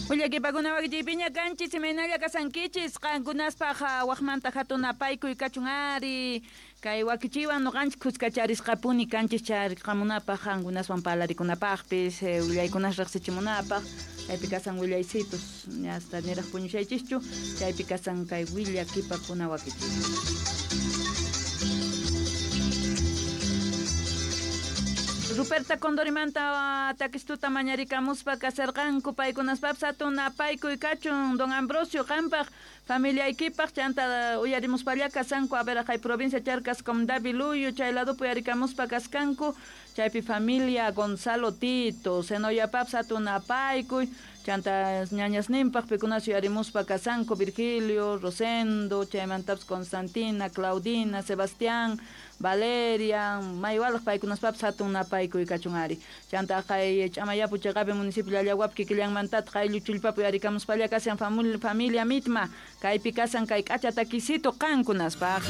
Willakipakuna wakichiypiña kanchis imaynalla kasankichis qankunaspaq waqmanta hatun apaykuy kachun ari kay wakichiywan nuqanchik khuskacharisqapuni kanchis chariqamunapaq qankunaswan parlarikunapaqpis willaykunas riqsichimunapaq chaypi kasan willaysitos hasta niraq puñushaychischu chaypi kasan kay willakipakuna wakichiy. Ruperta Condorimanta takistuta mañarikamuspa kasarqanku paykunaspapis hatun apaykuy kachun don Ambrosio qampaq familiaykipaq chanta uyarimuspalla kasanku Averaqay provincia Charcas comunidad Biluyo chay ladopi uyarikamuspa kaskanku chaypi familia Gonzalo Tito Senoyapapis hatun apaykuy chanta ñañasninpaq pikunas uyarimuspa kasanku Virgilio, Rosendo, chaymantapas Constantina, Claudina, Sebastián, Valeria, maywalaq paykunaspapis hatun napaykuy kachun ari. Chanta kay Ch'amayapu chiqapi municipio Llallawapi kikillanmantataq ayllu chullpapi uyarikamuspalla kashan familia mitma kaypi kasan kay k'acha takisito qankunaspaq.